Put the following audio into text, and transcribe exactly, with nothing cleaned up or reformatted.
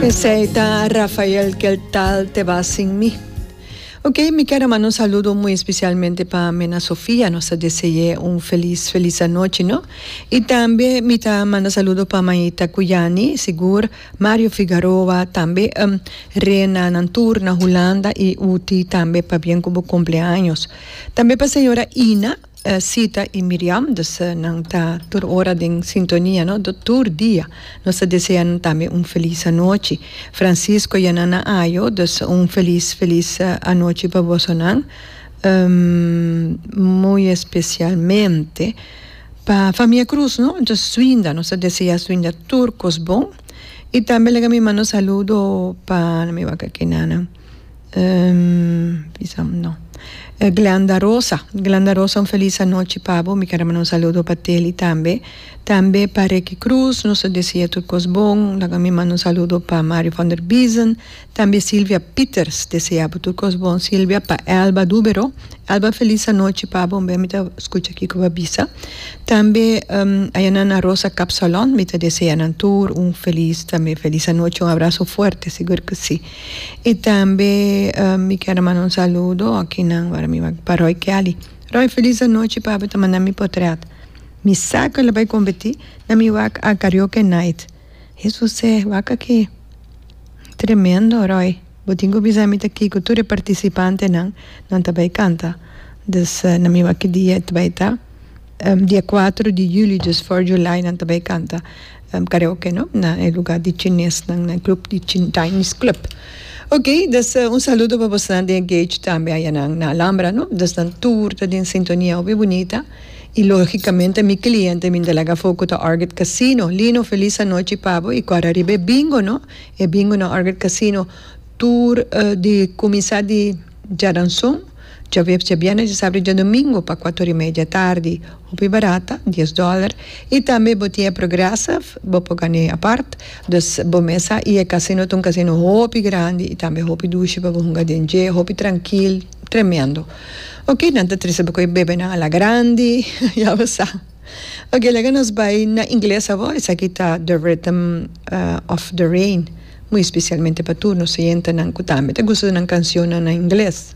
Esey ta Rafael "Qué tal te va sin mí". Ok, mi kier manda un saludo muy especialmente pa Mena Sofia, nos ta desea un feliz, feliz anochi, no? Y tambe mi ta manda saludo pa Maita Cuyani, sigur, Mario Figueroa, tambe um, Rena Nantur na Hulanda y Uti tambe pabien cu bo cumpleaños. Tambe pa señora Ina, uh, Sita y Miriam, dus uh, nan ta tur ora den sintonia, no? Do tur dia. Nos ta desea tambe un feliz anochi. Francisco y Nana Ayo, dus un feliz, feliz uh, anochi pa boso nan. Um, muy especialmente pa famia Cruz, no? Anto, Swinda, nos ta desea Swinda tur cos bon. Y tambe laga mi manda saludo pa mi wak aki nana. Um, no. Glenda Rosa. Glenda Rosa, un feliz anochi pa bo. Mi kier manda un saludo pa Teli tambe. Tambe pa Ricky Cruz, nos ta desea tur cos bon. Laga mi manda un saludo pa Mario van der Biesen. Tambe Silvia Peters, desea tur cos bon. Silvia, pa Elba Dubero. Elba, feliz anochi pa bo. Mi ta scucha aki cu bisa. Tambe um, Ayanana Rosa Capsalon, mi ta desea nan tur un feliz, tambe feliz anochi, un abraso fuerte, sigur cu si. Y tambe um, mi kier manda un saludo aki na pa Roy Kelly. Roy, feliz anochi pa bo, manda mi portret. Mi sa cu el a bay competi na mi wak a karaoke night. Jesus, e wak aki. Tremendo, Roy. Bo tin cu bisa mi ta aki cu tur participante nan nan tambe canta. Dus uh, na mi wak dia tambe ta. Um, dia cuater di juli, dus cuater di juli, nan tambe canta um, karaoke, no? Na lugar di Chines, na, na club di Chinese Club. Ok, dus uh, un saludo pa boso di Engage tambe ey na, na Alhambra, no? Dus nan tur ta den sintonia hopi bunita. Y logicamente mi cliente, mi delegacion foco ta Arget Casino. Lino, feliz anochi pa bo. Y awor riba bingo, no? E bingo na Arget Casino. Tur uh, di cuminsa di diaranson, diahuebs, diabierna, diasabra, diadomingo pa cuater y mei di atardi. Hopi barata, dies dollar. Y tambe bo tin Progressive, bo por gana apart. Dus bo mesa y e casino un casino hopi grandi y tambe hopi dushi pa hunga den, hopi trankil, tremendo. Ok, nan ta trece bo bebe na ala grandi, ya bo sa. Ok, laga nos bay na ingles awor, esaki ta The Rhythm uh, of the Rain. Muy especialmente pa tur nos oyentenan cu tambe ta gusta nan cancion na ingles.